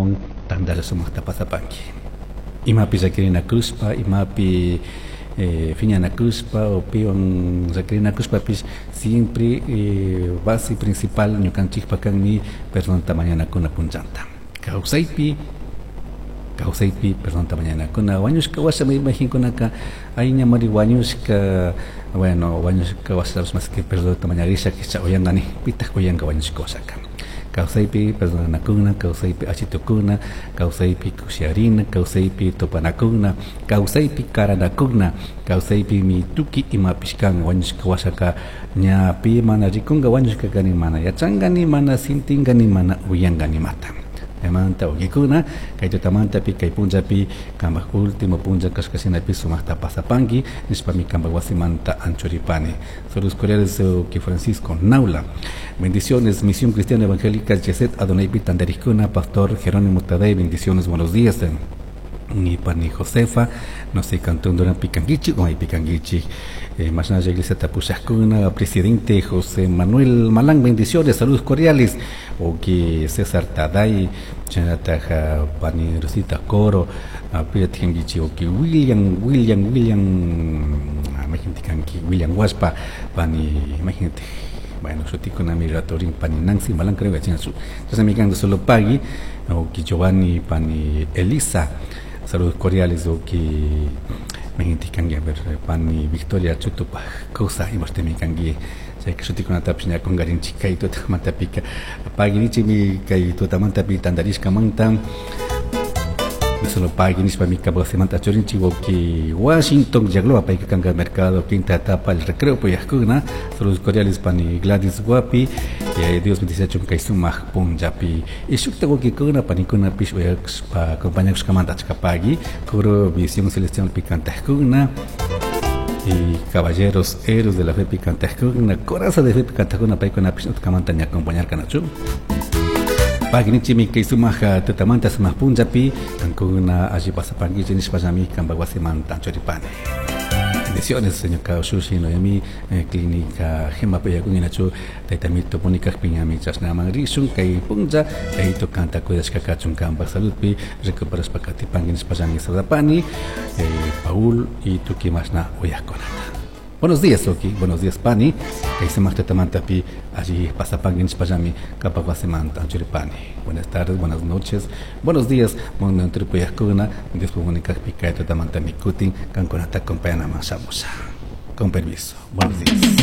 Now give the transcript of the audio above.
Kunawan tantalla sumaqta pasapanki. Imapi llakirinakushpa, imapi fiñanakushpa o piwan llakirinakushpapish siempre base principal ñukanchikpa kanmi perdonta mañanakuna punllanta. Kawsaypi, kawsaypi perdonta mañanakuna. Wañushka washa imaginkunaka ay ñamari wañushka, bueno, wañushka washa más que perdonta mañarisha kicha uyangani, pitaq uyanka wañushka washaka. Kawsaypi perdonanakuna, kawsaypi achitukuna, kawsaypi kushiarina, kawsaypi tupanakuna, kawsaypi karanakuna, kawsaypi mi tuki imapish kan wañushka washaka ña pi mana rikunka wañushka kani mana yachankani, mana sintinkani, mana uyankani mata. Chaymanta wawqikuna kay tutamantapi kay punllapi kanpak último punlla kashkashinapi sumaqta pasapanki nishpami kanpak wasimanta anchuripani. Saludos cordiales, que Francisco Naula. Bendiciones, Misión Cristiana Evangélica Yeset Adonai Tandarikuna, Pastor Jerónimo Tadei, bendiciones, buenos días. Ni pani Josefa, no sé, cantón Durán Picanguichi, o hay Picanguichi. Más nada, Iglesia Tapuchascuna, presidente José Manuel Malán, bendiciones, saludos cordiales. O que César Taday, Chanataja, pani Rosita Coro, Piratjanguichi, o que William, William, William, imagínate, kanki, William Huaspa, pani, imagínate. Bueno, shutikuna mi ratorin pani Nancy Malán, creo que tiene su. Entonces, mi canto solo pagui, o que Giovanni, pani Elisa, saludos cordiales, o que imagínate, kangi, a ver, pani Victoria Chutupa, cosa, y mi kangi, chay shutikunatapish ña kungarinchik kay tutamantapika paginichik mi kay tutamantapi tantarishkamanta. Solo pagui nishpa mi kabasimanta churinchik wawki Washington Yagloa payka kanka mercado quinta etapa el recreo puyajkuna. Saludos cordiales pani Gladys Guapi, Dios bendice kay sumaq punllapi. Y shukta wawkikuna panikunapish uyashpa acompañakushkamanta achka pagui coro Visión Celestial picantajkuna y caballeros héroes de la fe picantajkuna, coraza de fe picantajkuna paykunapish utkamanta ña acompañarkanachu. Paginichimi kay sumaq tutamanta sumaq punllapi kankuna alli pasapankichik nishpallami kanpak wasimanta churipani. Bendiciones, señor Kaoshushi, Noemi, Clínica Gema Peyakuninachu, Taitamito Punikak Piñami, Chasnaman Rishun, Kay Punja, Kaito Kanta Kudashka Kachun Kampa Saludpi, Recuperas Pakati Pangin Spallani Sadapani, Paul y Tukimasna Oyakonata. Buenos días, Oki. Buenos días, Pani. Kay sumaq tutamantapi allí pasapangin nishpallami kapak wasimanta churipani. Buenas tardes, buenas noches, buenos días. Mundo tripuyajkuna, Dios punikakpi kay tutamanta mikutin, kankunata acompañanaman shamusha. Con permiso. Buenos días.